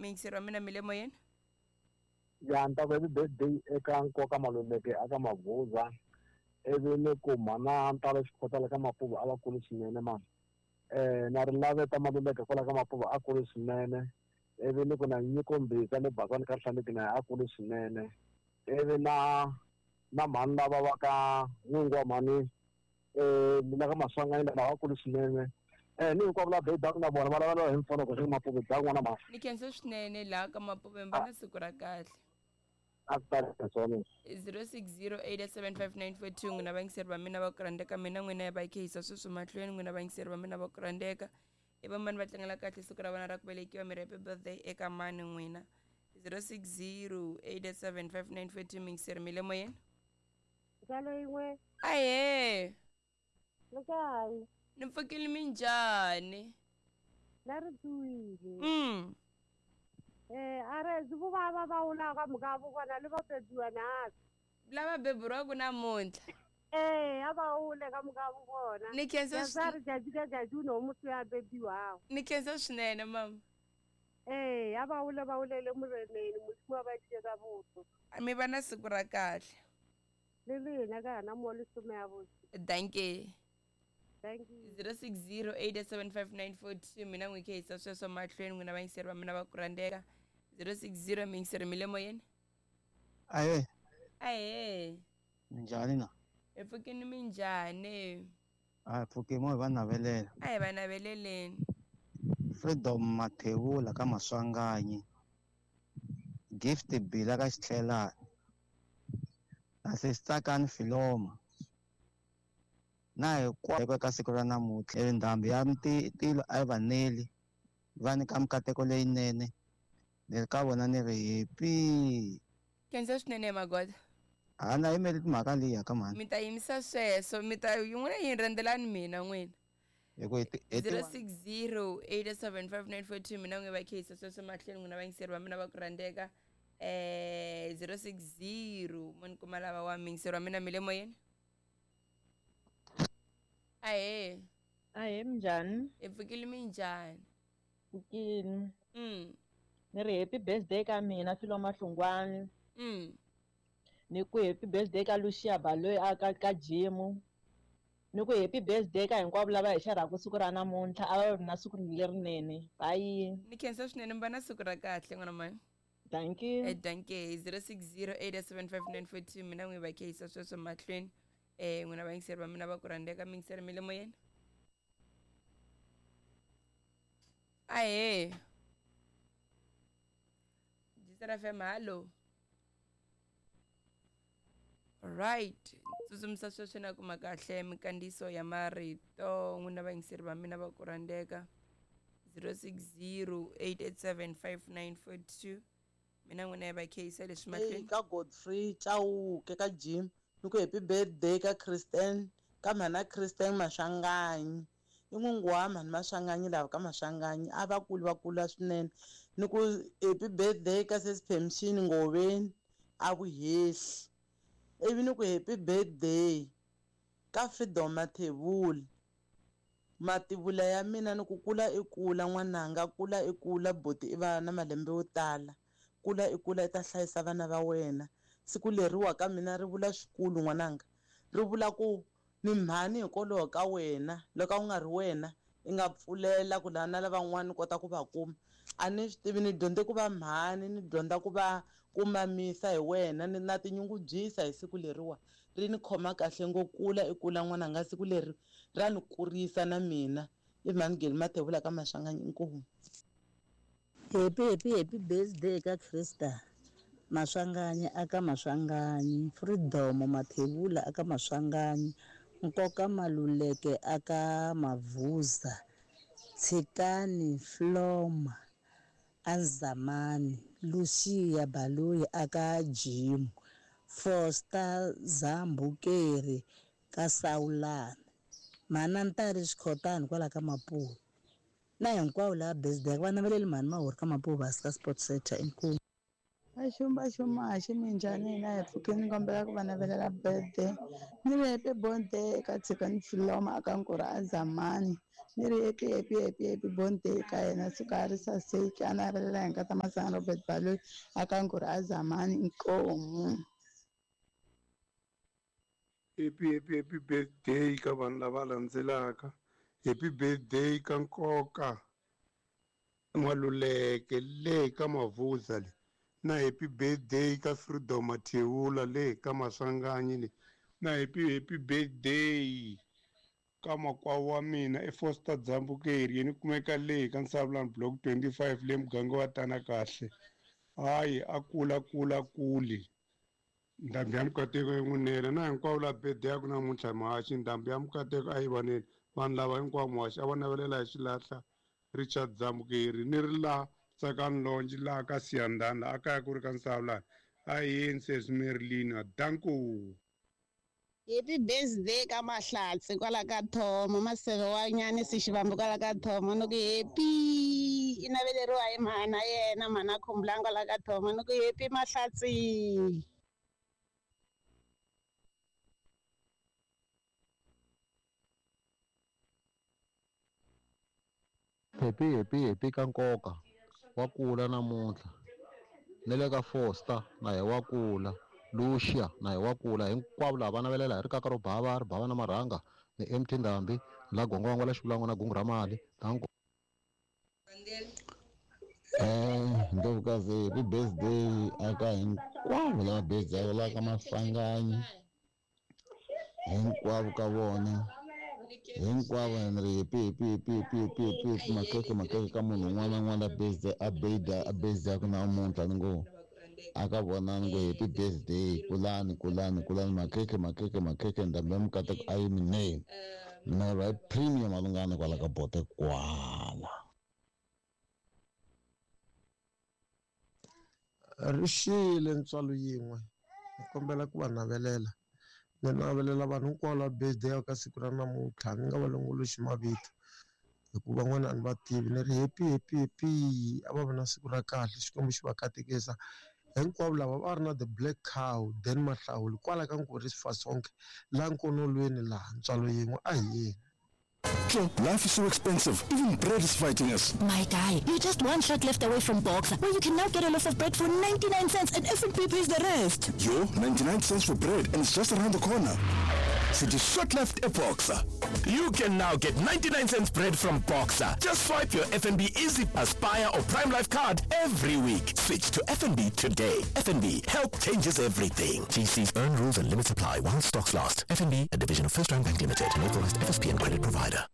Miyingiseri wa mina mi le moyeni. Ya ni ta ku happy birthday eka Nkoka Maluleke aka Mavuza ivi ni ku mhana Ntalo Xikhotala ka Mapuva a va kuli swinene mani na Rilaveta Maluleke kwala ka Mapuva a kuli swinene ivi ni ku na Nyiko Mbhiza le Bakwane ka Hlaneki na yena a kuli swinene ivi na na mhani lava va ka n'wingi wa mhani la ka Maswanganyi lava va kuli swinene ni hinkwavo lava bebaka na vona va lavela hi mfanelo ku Mapuve bya n'wana mhani. Ni khensa swinene laha ka Mapuve mi va na siku ra kahle. A ku tali swona. 06087594 n'wina vayingiseri va mina va ku rhandzeka mina n'wina ya va khehisa sweswi mahlweni n'wina vayingiseri va mina va ku rhandzeka i va mani va tlangela kahle siku ra vona ra ku velekiwa mi ri happy birthday eka mani n'wina 06087594 miyingiseri mi le moyeni. Ntswalo yin'we. Ahee. Le kae? Ni pfukile minjhani? Na ri tsuwile. A re zi vo va va va wula ka mhaka vo vona le va bebiwa nasi. Lava beburiwaka namuntlha. A va wule ka mhaka vo vona. Ni khensa Ya sa ri jaji ka jaji u no muthu ya bebiwago. Ni khensa swinene mama. A va wule va wulele mureneni Modimo a ba die ka botho. Mi va na siku ra kahle. Le lena ka hana mo lesome ya botse. Dankie. Thank you. 06087594 mina n'wi khehisa sweswo mahlweni n'wina vayingiseri va mina va ku rhandzeka 060 miyingiseri mi le moyeni. Ahee. Ahee. Minjhani na? Hi pfukini minjhani? A hi pfuki mo hi va navelela. A hi va naveleleni. Freedom Mathebula ka Maswanganyi. Gift Bila ka Xitlhelani. Na Sesitsakani Filoma. Na hikwako eka siku ra namuntlha ndhambi ya tilo a yi va neli va nyika mikateko leyinene ni ri ka vona ni ri happy. Khensa swinene magoda. A na yimeli timhaka liya ka mhani. Mi ta yimisa sweswo mi ta yin'wana yi rhendzelani mina n'wina. Hi ku hi ti 06087594 mina n'wi va khehisa sweswo mahlweni n'wina vayingiseri va mina va ku rhandzeka 060 mo ni kuma lava wa miyingiseri wa mina mi le moyeni. Ahee. Ahee minjhani? Hi pfukile minjhani? Pfukile. Ni ri happy birthday ka mina Filo Mahlungwani. Ni ku happy birthday ka Lucia Baloyi a ka Jimu. Ni ku happy birthday ka hinkwavo lava hi xarhaka siku ra namuntlha a va ri na siku lerinene. Bye. Ni khensa swinene mi va na siku ra kahle n'wana mhani. Thank you. Thank you. 06087594 mina n'wi va khehisa sweswo mahlweni. N'wina vayingiseri va mina va ku rhandzeka miyingiseri mi le moyeni. Ahee. Jisera FM hallo. Right. Tsutsumisa sweswo na kuma kahle mikandziyiso ya marito n'wina vayingiseri va mina va ku rhandzeka 0608875942 mina n'wina ya va khehisa leswi mahlweni. Ka Godfrey Chauke ka Jim ni ku happy birthday ka Kristen ka mhana Kristen Maswanganyi. I n'wingi wa mhani Maswanganyi lava ka Maswanganyi a va kuli va kula swinene. Ni ku happy birthday ka Sesi Permission Ngoveni a Vuhehli. Ivi ni ku happy birthday ka Freedom Mathebula. Mativula ya mina ni ku kula i kula n'wananga kula i kula buti i va na malembe yo tala. Kula i kula i ta hlayisa vana va wena. Siku leriwa ka mina ri vula swikulu n'wananga. Ri vula ku ni mhani hikwalaho ka wena loko a wu nga ri wena i nga pfulela ku lana lavan'wana ni kota ku va kuma. A ni swi tivi ni dyondze ku va mhani ni dyondza ku va ku mamisa hi wena ni na tinyungubyisa hi siku leriwa ri ni khoma kahle ngo kula i kula n'wananga siku leri ra ni kurisa na mina. I mhani Geli Mathebula ka Maswanganyi inkomu. Happy happy happy birthday ka Krista Maswanganyi aka Maswanganyi, Freedom Mathebula aka Maswanganyi, Nkoka Maluleke aka Mavuza, Tshikani Floma Azamani, Lucia Baloyi aka Jim, Foster Zambukeri ka Saulana, Mhana Ntari Xikhotani kwala ka Mapuva. Na hinkwavo lava birthday va naveleli mhani Mahori ka Mapuva ka Sports Center inkomu. Vaxumbaxumaxi minjhani hina hi pfukile ni kombela ku va navelela birthday. Ni ri happy birthday eka Tshikani Filoma aka Nkurhu Azamani. Ni ri happy happy happy happy birthday ka yena suka a ri saseki a navelela hi nkata Masana Robert Baloyi a ka Nguri a Zamani inkomu. Happy happy happy birthday ka vanhu lava landzelaka. Happy birthday ka Nkoka Maluleke le ka Mavuza le, na happy birthday ka Freedom Mathewula le ka Maswanganyi le, na happy happy birthday ka makwavo wa mina i Foster Dzambukeri yena kumeka le ka Nsavulani block 25 le muganga wa Tana Kahle. Hayi a kula kula kuli ndhambi ya mikateko yi n'wi nela na hinkwavo la birthday ya ku namuntlha muhaxi ndhambi ya mikateko a yi vaneni vanhu lava hinkwavo muhaxi a va navelela hi xilahla Richard Dzambukeri ni ri laha Tsakani Lonji laha ka Siyandhani laha a kaya ku ri ka Nsavulani a yeni sesi Merlina danko. Happy birthday ka Mahlatsi kwala ka Thomo Maseve wa Nyanisi Xivambu kwala ka Thomo ni ku happy i naveleriwa hi mhana yena mhana Khumbulani kwala ka Thomo ni ku happy Mahlatsi. Happy happy happy ka Nkoka wa kula namuntlha ni le ka Foster na hi wa kula Lucia na hi wa kula hinkwavo lava va navelela hi rikaka ro bava ri bava na marhanga ni MT Ndhambi la gongwango la xivulango na gungu ra mali danko. Ndlovukazi happy birthday aka hinkwavo lava birthday la ka Maswanganyi hinkwavo ka vona hinkwavo ni ri happy happy happy happy happy happy makeke makeke ka munhu un'wana na un'wana la birthday a birthday a birthday ku namuntlha ni ngo aka vona ni ngo happy birthday kulani kulani kulani makeke makeke makeke ndhambi ya mikateko a yi mineni mina va premium malungana kwala ka bote kwala. Ri xile ntswalo yin'we ni kombela ku va navelela ni navelela vanhu hinkwavo lava birthday ka siku ra namuntlha ni nga va longoloxi mavito hikuva van'wana a ni va tivi ni ri happy happy happy a va vi na siku ra kahle Xikwembu xi va katekisa hinkwavo lava va ri na the black cow then Mahlawuli kwala ka Nkuri Sifasonke laha Nkonolweni laha ntswalo yin'we a hi yeni. Life is so expensive. Even bread is fighting us. My guy, you're just one shot left away from Boxer, where you can now get a loaf of bread for 99 cents and FNB pays the rest. Yo, 99 cents for bread and it's just around the corner. City shot left a Boxer. You can now get 99 cents bread from Boxer. Just swipe your FNB Easy Aspire or Prime Life card every week. Switch to FNB today. FNB, help changes everything. GC's earn rules and limits apply while stocks last. FNB, a division of First Round Bank Limited, an authorized FSP and credit provider.